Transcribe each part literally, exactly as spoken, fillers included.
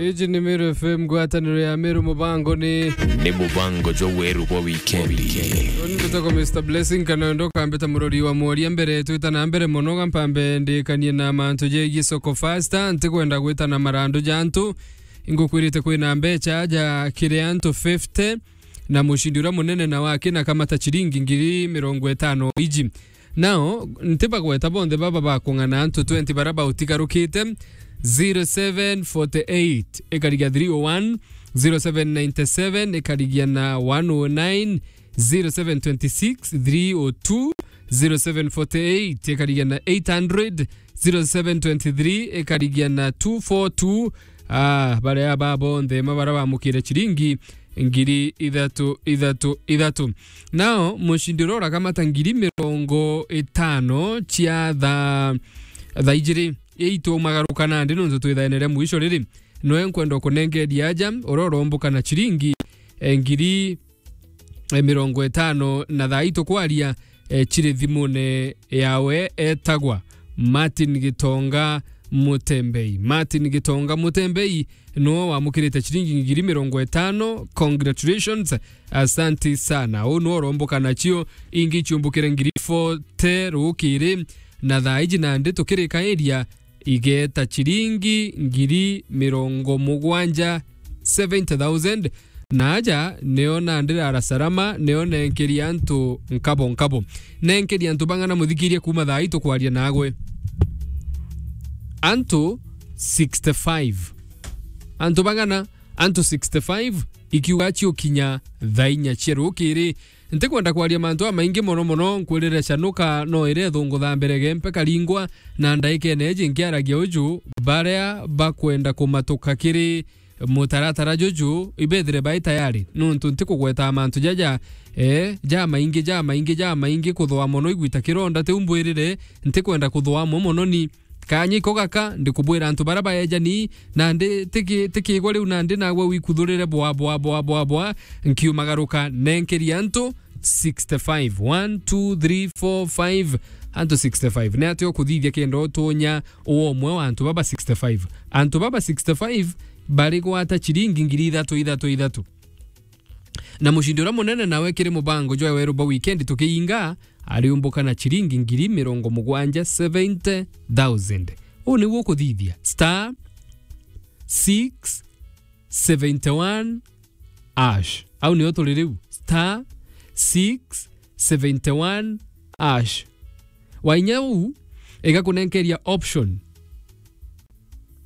Iji ni Meru F M, ngwataniro ya Meru, mubango ni ni mubango jwa weru bwa wikendi. Uni ndutagwa Mister Blessing, kana wendo ukambita murori wa mworia mbere. Twita na mbere mono, gampambe ndikanie na mantu jegie soko faster. Ntikwenda gwita na marandu ja antu. Ingukwirite kwina mbecha ja kiri antu fifty, na mucindi uria munene na wake na kamata chiringi ngiri mirongo itano iji. Nao, ntibagweta bonthe baba bakung'ana antu twenty bara bautigarukite, zero seven forty eight ikarigia three oh one, zero seven ninety seven ikarigia na one oh nine, zero seven twenty six three oh two, zero seven forty eight ikarigia na eight hundred, zero seven twenty three ikarigia na two four two. Ah, baria ba bonthe ma bara bamukire chiringi ngiri ithatu, ithatu, ithatu. Nao, mucindi uria urakamata ngiri mirongo itano cia tha-, thaa ijiri, itumagaruka nandi nontu twithaene ria mwisho riri, noe nkwenda kunengeria aja, uria uromboka na chiringi, eh, ngiri, eh, mirongo itano, na thaa ii tukwaria, eh, chiri thimune yawe etagwa Martin Gitonga Mutembei. Martin Gitonga Mutembei, noo wamukirite chiringi ngiri mirongo itano. Congratulations. Asanti sana. Uu noo uromboka nacio. Ingi ichiumbukire ngiri forty rukiri. Na thaa iji nandi tukirikairia igeta chiringi ngiri mirongo mugwanja, seventy thousand. Na aja nio nandi rara salama, nio nenkeri antu nkabo nkabo. Nenkeri antu bang'ana muthikirie kuuma thaa ii tukwaria nagwe? Antu sixty-five. Antu bang'ana? Antu sixty-five, ikiuga ciukinya thaa inya cia rukiri. Ntikwenda kwaria mantu amaingi mono mono, nkwirire canuka no ire thungu tha mbere gempe karingwa, na ndaikene iji nkiaragia uju, baria bakwenda kumatuka kiri mutaratara juju, ibethire bai tayari, nontu ntikugweta mantu jaja, eh, jamaingi, jamaingi, jamaingi, kuthwa mono igwita kironda, tiu mbwirire, ntikwenda kuthwa amwe mono ni. Kanya iko gaka, ndikubwira antu bara baejani, nandi tiki-, tikigwa riu nandi nagwe wikuthurire bwa, bwa, bwa, bwa, bwa, nkiumagaruka, nenkeri antu sixty-five. One, two, three, four, five, antu sixty-five. Ni atia ukuthithia kenda utunya uwe umwe wa antu baba sixty-five? Antu baba sixty-five bari gwata chiringi ngiri ithatu, ithatu, ithatu. Na mucindi uria munene nawe kiri mubango jwa weru bwa wikendi tukiinga, ariumbuka na chiringi ngiri mirongo mugwanja, seventy thousand. Uu niguo ukuthithia. Star six seventy one hash. Au nio turi riu. Star six seventy one hash. Wainya uu, igakunenkeria option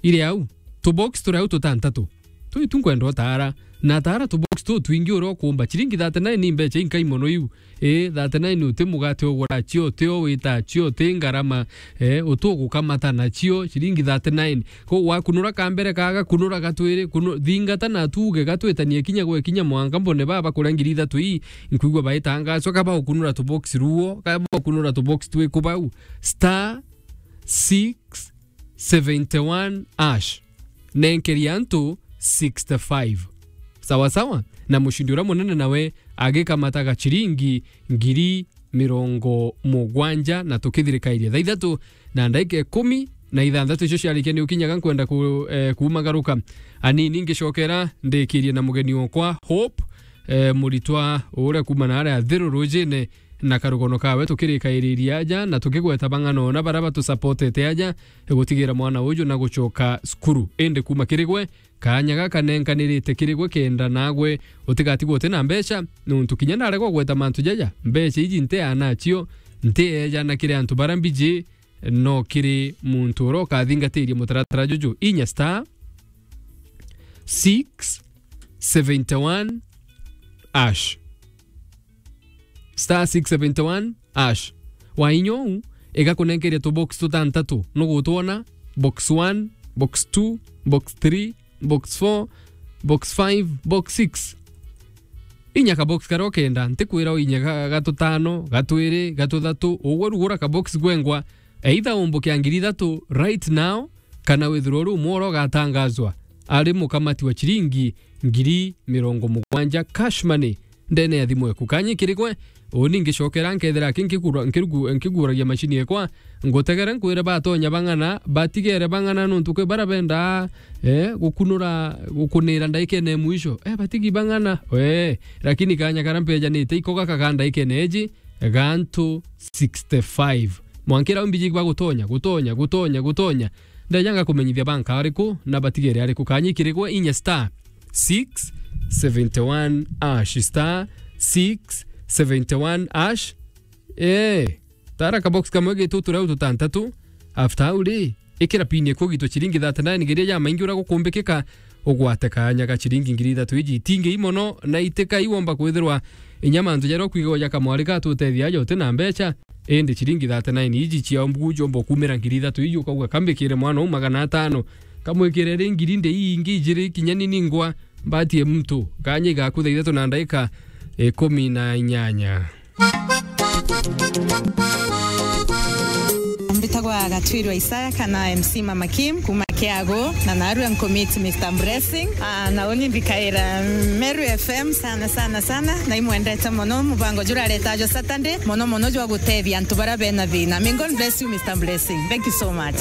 iri au. Tubox turi au tutantatu. Tui tu nkwenda utaara. Na taara tubox tu twingi uria ukumba. Chiringi thirty-nine ni mbecha inkai mono iu. Ii, thirty-nine uti mugate ugura cio, uti o wita cio, uti ngarama, eh, uti ugukamata nacio, chiringi thirty-nine. Ko wakunura kambere kaga, kunura gatwiri, kunu-, thingata na tuuge gatwitanie kinya gwe kinya mwanka mbone baba kuria ngiri ithatu ii, nkwigua baitangacwa, kaba ukunura tubox ruo, kaba ukunura tubox twi kubau. Star six seventy one hash. Nenkeri antu sixty-five. Sawa sawa? Na mucindi uria munene nawe agikamataga chiringi ngiri mirongo mugwanja na tukithirikairia thaa ithatu na ndaika ikumi na ithanthatu icio ciarikia ni ukinyaga nkwenda ku-, eh, kuumagaruka anini ngicokera ndikirie na mugeni okwa Hope, eh, muritwa uria kuuma na aria Thiru Rujine na karugono kawe tukirikairiria aja na tukigweta bang'ana ona baria batusapotete aja gutigira mwana uju na gucoka cukuru. Indi kuuma kiri gwe, kaanya gaka nenkanirite kiri gwe kenda nagwe utigatigwe uti na mbeca, nontu kinya ndaregwa gweta mantu jaja, mbeca iji ntiana nacio, ntieja na kiri antu baria mbiji, no kiri muntu uria ukathingatiria mutaratara juju. Inya star six seventy one hash. Star six seventy one hash. Wainya uu, igakunenkeria tubox tutantatu. Nugutwona? Box one, box two, box three, box four, box five, box six. Inya kabox karia ukenda, ntikwira uinye ga-, gatutano, gatwiri, gatuthatu, ugwe rugura kabox gwengwa. Either umbuke ya ngiri ithatu right now, kana withirwe uri umwe uria ugatangazwa ari mukamati wa chiringi ngiri mirongo mugwanja cash money ndene ya thimu eku. Kanya kiri gwe, Uni ngicokera nkethira aki nkigura-, nkirugu-, nkiguuragia macini ekwa, ngutegere nkwire batonya bang'ana, batigere bang'ana nontu kwi bara bendaa, eh, gukunura, gukunira ndaikene mwisho. Eh, batigi bang'ana, eh, lakini kanya kara mpejanite iko gaka ka ndaikene eji, gantu sixty-five. Mwankira umbiji bagutonya, gutonya, gutonya, gutonya. Ndejanga kumenyithia banka ariku na batigere ariku. Kanya ikirigwe inya star six seventy one hash, star six seventy one hash. Eh, tara ka box kamwe gitu tureu tutantatu. After au ri, ikira pin ekwo gitu chiringi thirty-nine ngeria ya maingi ura gukumbikika, ugwate kanya ga chiringi ngiri ithatu iji itingi imono na itika iwomba kwithirwa inya mantu jaria ukwigagwa ja kamwari gatutethia aja uti na mbecha. Indi chiringi thirty-nine iji cia mbugu jomba kumira ngiri ithatu iji ukauga kambikire mwana u magana atano. Kamwikire ri ngiri ndi ii ingi ijiri kinya ni ningwa mbatie muntu. Kanya igaku thaa ithatu na ndaika ikumi na inyanya. Mbitagwa Gatwirwa Isaya kana M C Mama Kim kuma Kiago, na narua nkumiti Mister Blessing. Ah, na uni mbikaira Meru F M sana, sana, sana. Na imwendete mono mubango jura reta jo Saturday, mono mono jwa gutethia antu bara bena thina. May God bless you, Mister Blessing. Thank you so much.